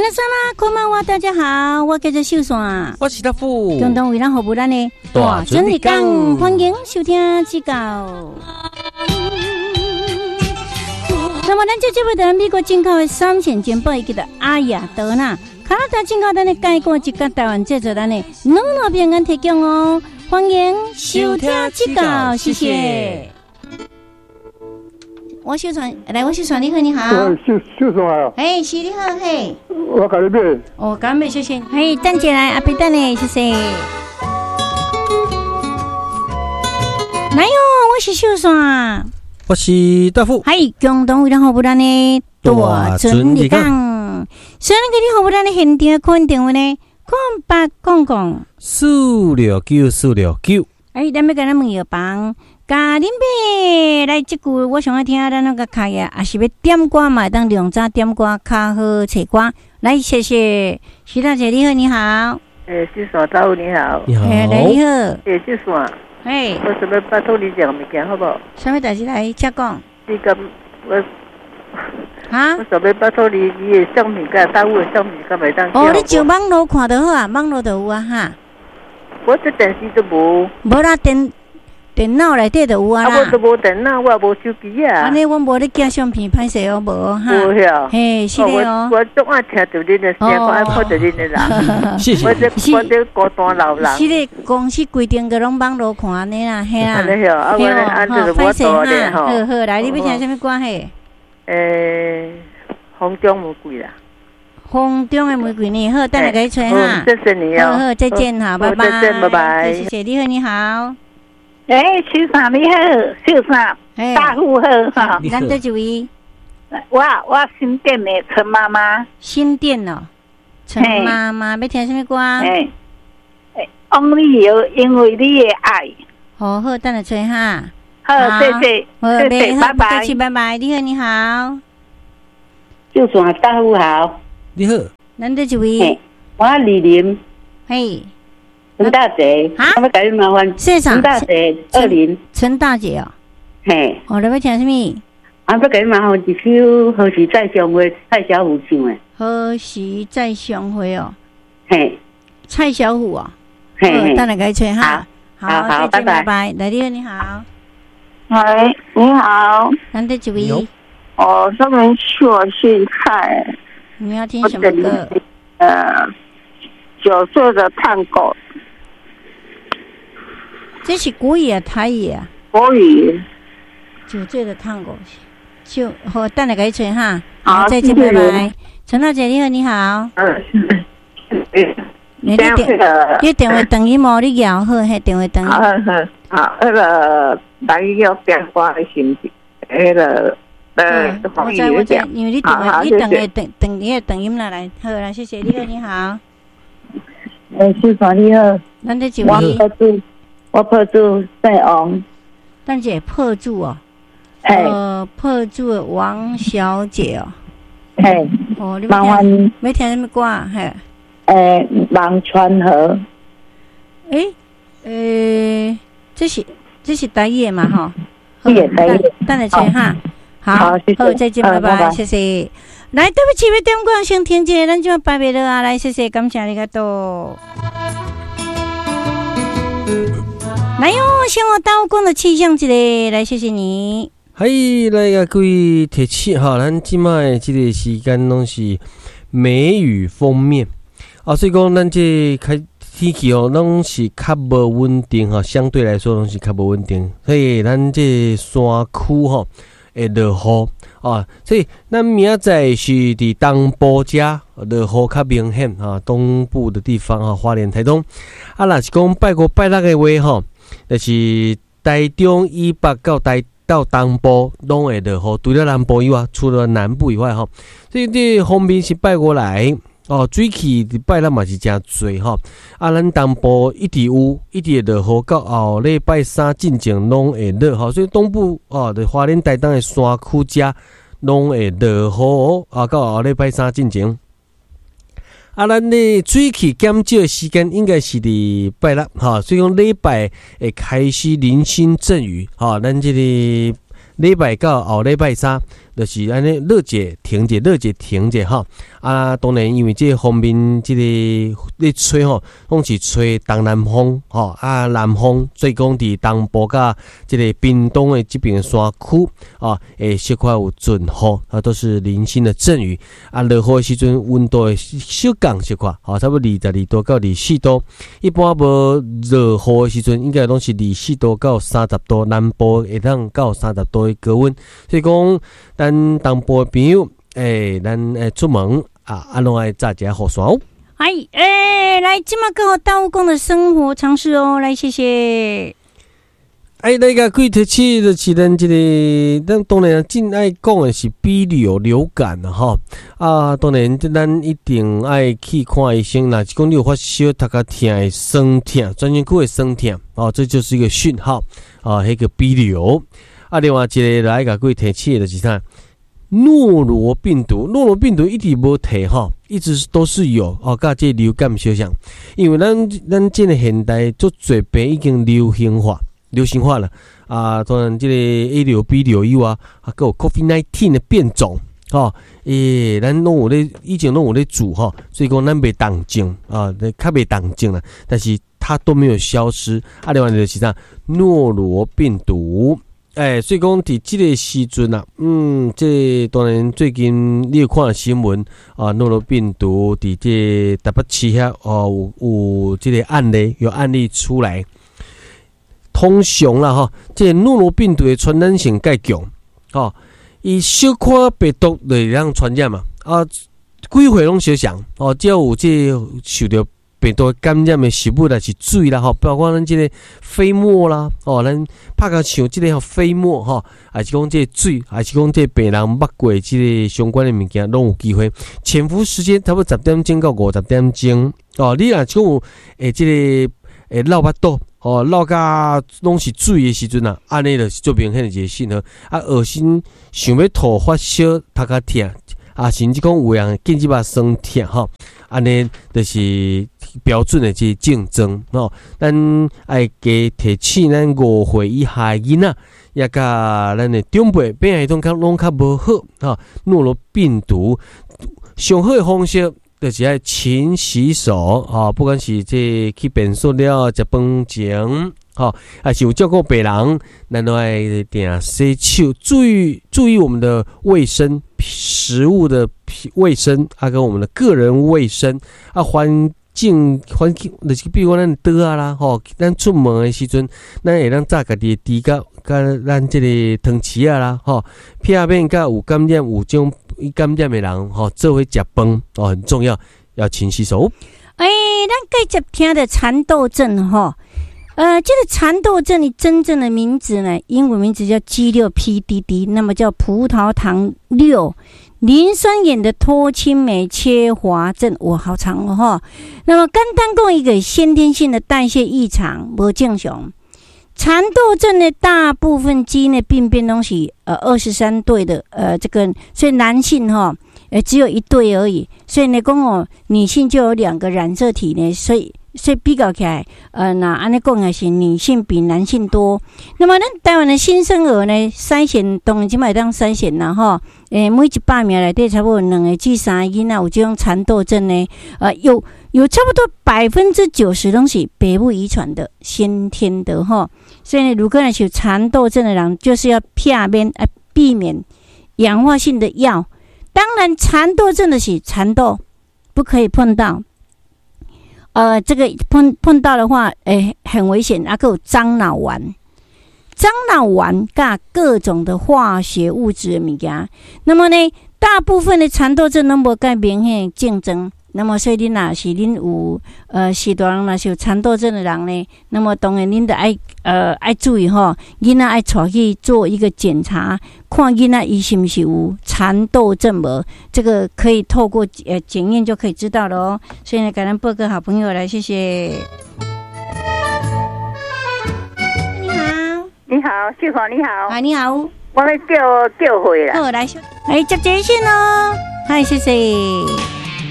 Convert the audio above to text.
皆さんこんばんは，大家好，我叫做秀山，我是大富，共同為咱服務咱的大准日講，歡迎收聽這個。那麼，咱這節目的美國進口的三線珍寶，叫做阿雅德娜，加拿大進口咱的蓋過一個台灣製作咱的乳酪餅乾提供哦，歡迎收聽這個，謝謝。我秀山來，我秀山，你好，你好。秀秀山啊。嘿，是你好，嘿。我共你買。哦，共買，謝謝。嘿，等一下來，阿伯等你，謝謝。來喲，我是秀山。我是大富。嗨，共同為咱服務咱的大准日講。所以，咱給你服務咱的現場款電話呢，0800 469 469。哎，咱欲共咱問藥房。共恁買來，這句我上愛聽，咱那個開啊，也是欲點歌嘛，會當量早點歌較好揣歌。來，謝謝徐大姐，你好，你好。欸，秀山大富你好。你好。欸，來你好。欸，秀山。嘿。我想欲拜託你一項物件，好無？啥物代誌來，請講。你敢我？哈？我想欲拜託你，你的相片佮大富的相片，敢會當？哦，你上網路看就好啊，網路就有啊，哈。我這電視都無。無啦，電腦內底就有啊啦。啊，我都無電腦，我也無手機啊。按呢，阮無咧寄相片，歹勢哦，無哈。無遐。嘿，是的哦。我總愛聽著恁的聲，我愛看著恁的人。謝謝。我這孤單老人。是的，公司規定個攏網路看按呢啦，嘿啦。按呢啊，我按就是無多咧吼。好好，來，你欲聽啥物歌嘿？欸，風中玫瑰啦。風中的玫瑰呢？好，等下共你揣哈。謝謝你哦。好好，再見哈，拜拜。再見，拜拜。謝謝，你好，你好。欸，秀山你好，秀山，大富好哈。咱佗一位？我新店的陳媽媽。新店哦，陳媽媽欲聽啥物歌？欸，王力宏，因為你的愛。好好，等下揣哈。好，謝謝，謝謝，拜拜。客氣，拜拜。你好，你好。秀山大富好。你好。咱佗一位？我李林。嘿。陳大姐，我欲共你麻煩。陳大姐，二林。陳大姐哦。嘿。哦，你欲聽啥物？啊，欲共你麻煩一首《何時再相會》，蔡小虎唱的。何時再相會哦？嘿。蔡小虎哦。嘿。等下共你揣哈。好，好，拜拜。拜。來，你好，你好。喂，你好。咱佗一位？哦，這邊是我姓蔡。你要聽什麼歌？酒醉的探戈。這是國語啊，台語啊？國語。酒醉的探戈，就好，等下共你揣哈。好，再見，拜拜。陳大姐，你好，你好。你電話斷音無？你搖好，彼電話斷音。好好，好，彼个台語叫電話的是毋是？彼个我知我知，因為你電話你斷的斷斷你的斷音啦，來，好啦，謝謝你好，你好。欸，秀山你好。咱佗一位？我破主姓王，等下破主哦，破主的王小姐哦，嘿，哦，你麻煩欲聽啥物歌？嘿，欸，望川河，欸，這是台語的嘛？吼，台語，等下揣哈，好，好，再見，拜拜，謝謝。來，對不起，欲點歌先停一下，咱這擺袂落啊，來，謝謝，感謝你個多。來喲，先我刀工的氣象一下，來謝謝你。嘿，來共各位提醒哈，咱這擺的這個時間攏是梅雨鋒面啊，所以講咱這開天氣哦，攏是較無穩定哈，相對來說攏是較無穩定，所以咱這山區吼會落雨啊，所以咱明仔載是佇東部遮落雨較明顯啊，東部的地方啊，花蓮、台東啊，若是講拜五、拜六的話吼，就是台中以北到台到東部攏會落雨，除了南部以外，除了南部以外吼，所以這鋒面是拜五來哦，水汽佇拜六嘛是誠濟吼。啊，咱東部一直有，一直會落雨，到後禮拜三進前攏會落雨，所以東部哦，佇花蓮、台東的山區遮攏會落雨啊，到後禮拜三進前。啊，咱的水汽減少的時間應該是佇拜六，吼，所以講禮拜會開始零星陣雨，吼，咱這個禮拜到後禮拜三，就是按呢落者停者，落者停者吼。啊，當然因為這個方面，這個咧吹吼，攏是吹東南風吼，啊南風，所以講佇東部佮這個屏東的這邊山區啊，會小可有陣雨，啊，都是零星的陣雨。啊，落雨的時陣溫度會小降小可，吼，差不多22度到24度。一般無落雨的時陣，應該攏是24度到30度，南部會當到30度的高溫。所以講，咱東部的朋友，咱出門啊，攏愛紮一下雨傘哦。哎，來，這馬閣予大富講的生活常識哦，來，謝謝。哎，來共各位提醒就是咱這個，咱當然真愛講的是 B 流流感啦，吼。啊，當然，這咱一定愛去看醫生。若是講你有發燒、頭殼疼、酸痛、全身骨會酸痛，哦，這就是一個訊號，啊，彼個 B 流。啊，另外一個來共各位提醒的就是啥？諾羅病毒，諾羅病毒一直無退吼，一直都是有哦，佮這流感相像，因為咱這個現代足濟病已經流行化。流行化了啊！當然，這個 A 流、B 流以外，啊，閣有 COVID-19 的變種，吼，咱攏有咧，以前攏有咧做吼，所以講咱袂當症啊，較袂當症啦。但是它都沒有消失。啊，另外就是啥，諾羅病毒，所以講佇這個時陣啊，這個當然最近你有看新聞啊，諾羅病毒佇這台北市遐哦，有這個案例，有案例出來。通常啦吼，這個諾羅病毒的傳染性較強，吼，伊小可病毒就會當傳染嘛，啊，幾歲攏相像，哦，只要有這個受著病毒感染的食物，抑是水啦，吼，包括咱這個飛沫啦，哦，咱拍共像這個飛沫吼，抑是講這個水，抑是講這個病人捌過這個相關的物件，攏有機會。潛伏時間差不多10點鐘到50點鐘，哦，你若講有這個會落腹肚。哦，落甲攏是水的時陣啊，按呢就是足明顯的一個信號。啊，噁心、想欲吐、發燒、頭殼疼，啊，甚至講有人頸脊肉酸疼吼，按呢就是標準的這個症狀吼。咱愛加提醒咱5歲以下的囡仔，也佮咱的長輩，免疫系統較攏較無好吼。諾羅病毒上好的方式，就是愛勤洗手，吼，不管是這去便所了、食飯前，吼，抑是有照顧病人，咱都愛定洗手，注意注意我們的衛生、食物的衛生，啊，跟我們的個人衛生，啊，環境環境，就是比如講咱桌仔啦，吼，咱出門的時陣，咱會當紮家己的豬腳，佮咱這個湯匙仔啦，吼，避免佮有感染有種感染的人，吼，做伙食飯，哦，很重要，要勤洗手。咱繼續聽著蠶豆症，吼，這個蠶豆症的真正的名字呢，英文名字叫 G6PDD，那麼叫葡萄糖六磷酸鹽的脫氫酶缺乏症，哇，好長哦，哈。那麼簡單講一個先天性的代謝異常，無正常。蠶豆症的大部分基因的病變攏是23對的，這個所以男性哈，只有一對而已，所以呢講哦，女性就有兩個染色體呢，所以比較起來，那按呢講也是女性比男性多。那麼咱台灣的新生兒呢，篩選當然這馬會當篩選啦，吼，每100名內底差不多兩個至三個囡仔有這種蠶豆症呢，有差不多90%攏是爸母遺傳的，先天的吼。所以呢，如果若是有蠶豆症的人，就是要避免啊，避免氧化性的藥。當然，蠶豆症的是蠶豆不可以碰到。這個碰到的話，很危險。啊，閣有樟腦丸，樟腦丸佮各種的化學物質的物件。那麼呢，大部分的蠶豆症攏無蓋明顯症狀。那麼，所以恁若是恁有序大人若是有蠶豆症的人呢，那麼當然恁著愛注意吼，囡仔愛帶去做一個檢查，看囡仔伊是毋是有蠶豆症無？這個可以透過檢驗就可以知道了哦。所以呢，感恩報告好朋友來，謝謝。你好，你好，秀華你好。啊，你好。我欲叫叫貨啦。好，來，來接熱線哦。嗨，謝謝。